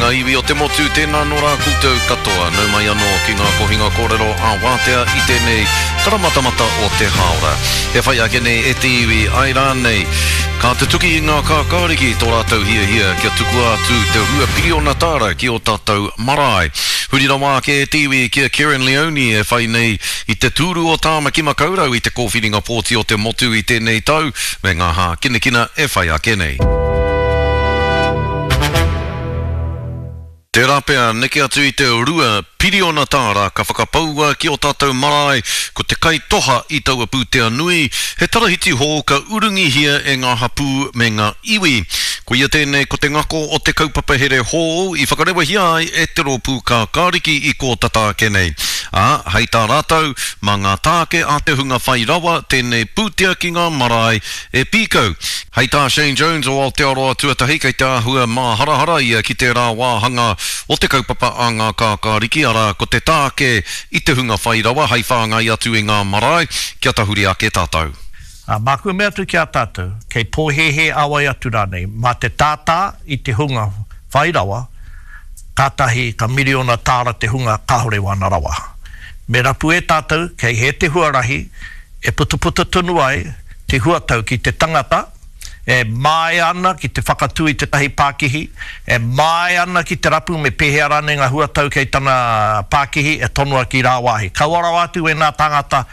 ngā iwi o te motu, tēnā nō rā koutou katoa. Nau mai anō ki ngā kohinga kōrero ā-wātea i tēnei karamatamata o te hāora. E whai ake nei e te iwi, āe rānei, ka tutuki i ngā kākāriki tō rātou hiahia kia tukua atu te $2 piriona ki ō tātou marae. Huri rawa ake e te iwi ki a Kerrin Leoni e whai nei i te tūru o Tāmaki Makaurau i te kōwhiringa pōti o te motu i tēnei tau, me ngā hākinakina e whai ake nei. Tērā pea, neke atu i te $2 piriona ka whakapaua ki ō tātou marae, ko te kaitoha i taua pūtea nui, he tarahiti hou ka urungihia e ngā hapū me ngā iwi. Koia tēnei ko te ngako o te kaupapa here hou i whakarewahia ai e te Rōpū Kākāriki i kō tata ake nei. Ā, hei tā rātou, mā ngā tāke a te hunga whai rawa tēnei pūtea ki ngā marae e pīkau. Hei tā Shane Jones o Aotearoa Tuatahi kei te āhua māharahara ia ki tērā wāhanga o te kaupapa a ngā kākāriki, arā, ko te tāke i te hunga whai rawa hei whāngai atu i ngā marae kia tahuri ake tātou. Ā, māku e mea atu ki a tātou, kei pōhēhē a wai atu rānei, mā te tātā i te hunga whai rawa, kātahi ka miriona tāra te hunga kāore wāna rawa. Me rapu e tātou kei hē te huarahi e putuputu tonu ai te huatau ki te tangata e māia ana ki te whakatū i tētahi pākihi, e māia ana ki te rapu me pēhea rānei ngā huatau kei tana pākihi e tonoa ki rāwāhi. Kaua rawa atu wēnā tāngata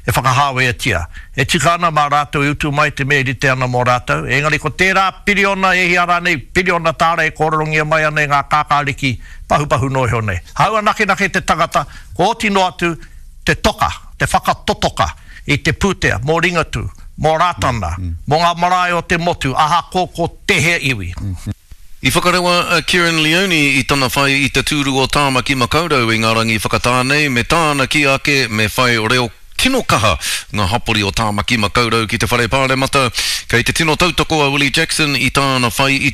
e whakahāweatia. E tika ana mā rātou e utu mai te mea e rite ana mō rātou. Engari ko tērā piriona e hia rānei piriona tāra e kōrerongia mai ana e ngā kākāriki pahupahu noa iho nei. Hāua nakenake te tangata, kua oti noa atu te toka, te whakatotoka i te pūtea mō Ringatū, mō Rātana, mō ngā marae o te motu, ahakoa ko tēhea iwi. I whakarewa a Kerrin Leoni i tana whai i te tūru o Tāmaki Makaurau i ngā rangi whakatā nei me tāna kī ake me whai reo tino kaha ngā hapori o Tāmaki Makaurau ki te Whare Pāremata. Kei te tino tautoko a Willie Jackson i tāna whai i.